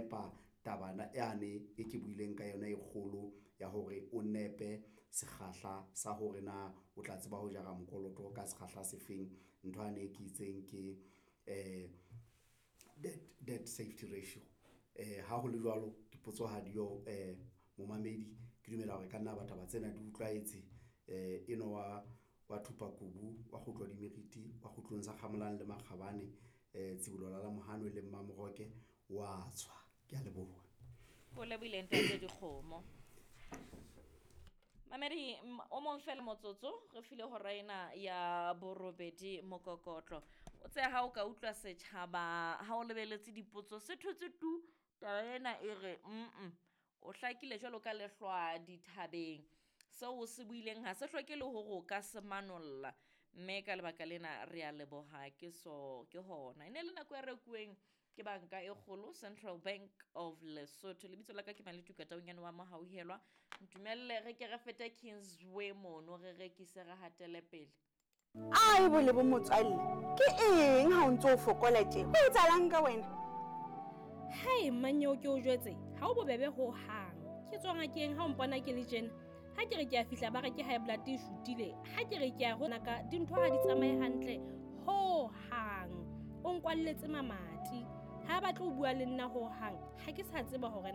nepa taba yane e ke buileng ka yona e kgolo ya hore o nepe sekgahla sa hore na o tla tseba ho jara mokoloto ka sekgahla se feng. Ntho yane e ke itseng ke debt safety ratio. Ha ho le jwalo, dipotso ha diyo momamedi ke dumela hore ka nna ba taba tsena di utlwahetse. Enwa wa Thupakubu, wa kgutlo di meriti, wa kgutlong sa Kgamolang le Makgabane, Tsibolo la Mohano le Mmamoroke wa tswa. Ke a leboha. O lebohile ntate Dikgomo. Mamedi o mong fela motsotso re file hora ena ya borobedi mokokotlo. O tse ha o ka utlwa setjhaba ha o lebeletse dipotso se thotse tu taba ena e re o hlakile jwalo ka lehlwa dithabeng. Seo o se buileng ha se hloke le hore o ka se manolla, mme ka lebaka lena re a leboha ke so ke hona. E ne le nako e rekuweng ke banka e kgolo Central Bank of Lesotho. Lebitso la ka ke Maletuka Taunyane wa Mohauhelwa. Ntumelle re ke re fete Kingsway mono re rekise re hatele pele. Ai bo le bo motswalle, ke eng ha o ntso o fokola tje? Ho etsahalang ka wena? Hai mmanyeo ke o jwetse, ha o bobebe ho hang. Ke tswa ngakeng ha o mpona ke le tjena. Ha ke re ke a fihla ba re ke high blood e shutile. Ha ke re ke a ho naka dintho ha di tsamaye hantle ho hang. O nkwalletse mamati. Ha batle ho bua le nna ho hang. Ha ke sa tseba hore